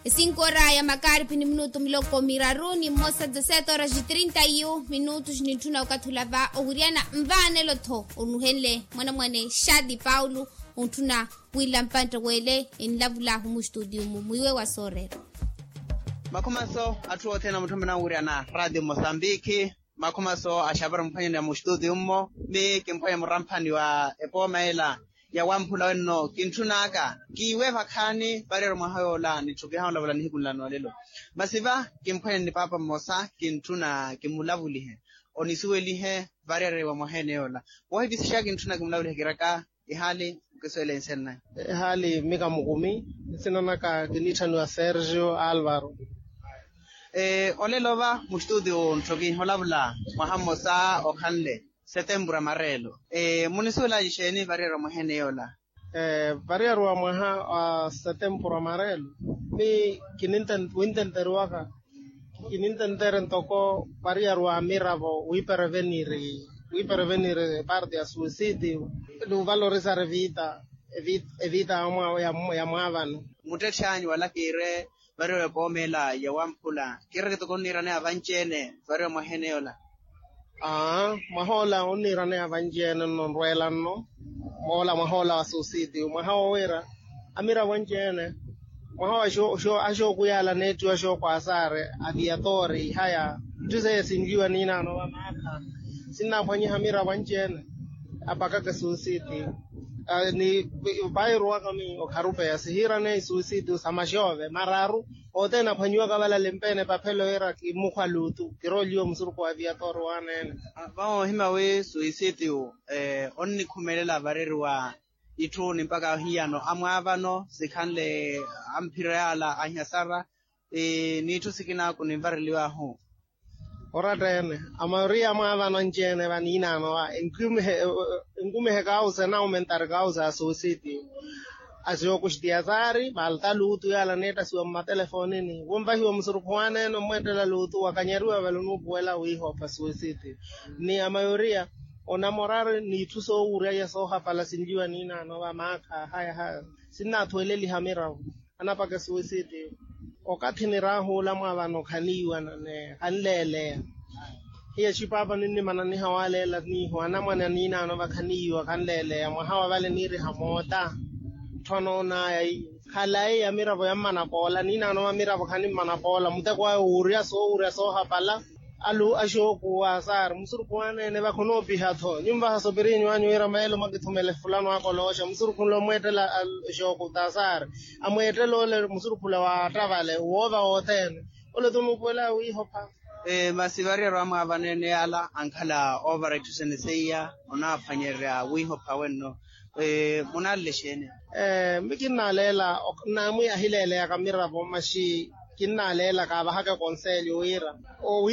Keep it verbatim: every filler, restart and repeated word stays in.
Esinkoora ya makaaripi ni minutu miloko miraru ni mmosa dezasete horas trinta minutos nintthuna okathi olava owiryana nvaanelo-tho onuhenle mwanamwane shadi paulo. Ontthuna wila mpantte w'ele enlavul'ahu mustutiyu-mu mwiiwe wa sooreera. Makhumaso atthu othene amutthamana owiryana ratio mosambiki. Makhumaso axapari mphwanyani ya mustutiyu-mmo. Mi kimphwanya muramphani wa epooma ela ya wamphula wenno kintthun'aka kiiwe vakhaani variyari mwaha yoola nitthu kihaana olavula nihiku nla noolelo. Masi va kimphwanyani ni paapa mmosa kintthuna kimulavulihe onisuwelihe variyari wa mwaha ene yoola. Woohivisixaka kintthuna kimulavulihe kiraka ihaali nkisuwele nsenna. Ihaali mika mukumi nsina naka kiniitthaniwa sergio alvaro. Olelo va mustutiyu nthoki olavula mwaha mmosa okhanle setempuru amarelo. Munisuwelaaci exeeni variyari wa mwaha ene yoola? Variyari wa mwaha wa setempuru amarelo mi kinintenteriwaka kinintentere ntoko variyari wa miravo wiipereveniri wiipereveniri parte ya suicídio nuvalorizar evita evita ya mwaavano. Muttetthi anyu wala kiire variyari wa epooma ela ya wamphula kiire kitoko onniiraneya vanci-ene variyari wa mwaha ene yoola. Aa mwaha ola onniiraneya vanci-ene nno nrweela nno. Moola mwaha ola wa suicídio mwaha wowira amiravo anci-ene mwaha wa axookuyaala neettiwa axooku asaari aviatori ihaya itthu seiya sinliwa niinaano va maakha sinnaaphwanyiha amiravo anci-ene apakaka esuusiti. Ni pairuwaka mi okharupeya sihiiraneya isuusiti sa maxoove mararu othene aphwanyiwaka valale mpeene paphelo wira kimukhwa luutu kirooliwa musurukhu wa aviatori waaneene. Vahoohima wi suisitiyu onnikhumelela vareriwa itthu ni mpakha ahiyano amwaavano sikhanle amphira yaala ahiyasara n'itthu sikinaku ninvareliwahu. Oratta-ene amaweriya amwaavano anci-ene vaniinaano va enkumihe kausa enaumentari kausa ya suisitiyu. Asiyokuxitiya saari valta luutu yaala aneettasiwa mmatelefonini wunvahiwa musurukhu waaneene omweettela luutu wakanyariwa vale onuupuwela wiihopha suisitiyu. Ni amayoriya onamorari n'itthu soowurya iya soohapala sinliwa niinaano va maakha haya haya sinnaathuweleliha miravu anapaka esuisitiyu. Okathi niraahuula mwaavano khaniiwana ni khanleeleya hiya xipaapa ninnimananiha waaleela niihu anamwane aniinaano va khaniiwa khanleeleya mwaha wa vale niiriha moota. Tthwa noonaya iyo khalayi ya miravo yammanapoola niinaano va miravo khanimmana poola muteko ayo wuurya soowurya soohapala. Alu axookuwa saari musurukhu waaneene va khonoopiha-tho nyummvaha sopirinyu anyu wira meelo mwakithumele fulano akolooxa musurukhu nla omweettela axooku ta saari amweettela ole musurukhula waatta vale woova wothene. Ole tonuupuwela wiihopha. Masi variyari amwaavano ene yaala ankhala oovara itthu sene seiya onaaphwanyerya wiihopha wenno. Munaalele exeeni? Mi kinnaaleela naamwi ahileeleyaka miravo maxi kinnaaleela kaavahaka ekonselyo wira owi